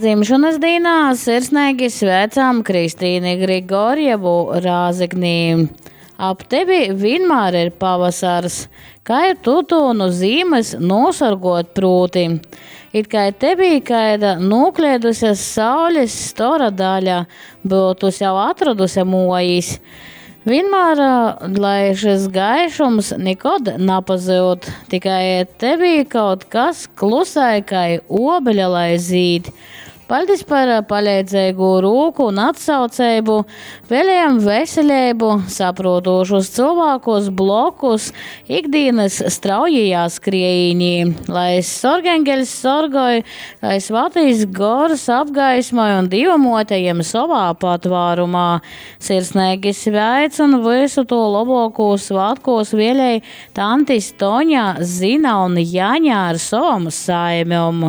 Dzimšonys dīnā sirsneigi sveicam Kristīni Grigorjevu Rāzeknī. Ap tevi vienmēr ir pavasars, kai tu tū nu zīmys nūsorguot prūti. It kai tevī kaida nūkleiduse saulis stora daļa byutu sev atroduse muojis. Vienmēr, lai šis gaišums nikod napazyud, tikai tevī kaut kas klusai kai uobeļa lai zīd. Paļdis par paleidzeigū rūku un atsauceibu, vēlējam veseleibu, saprūtūšus cylvākus blokus ikdīnys straujajā skriejīnī. Lai sorgeņgeļs sorgoj, lai svatīs gors apgaismoj un Dīva muote jem sovā patvārumā. Sirsneigi sveic un vysu to lobokū svātkūs vēlej tantis Toņa, Zina un Jaņa ar sovom saimem.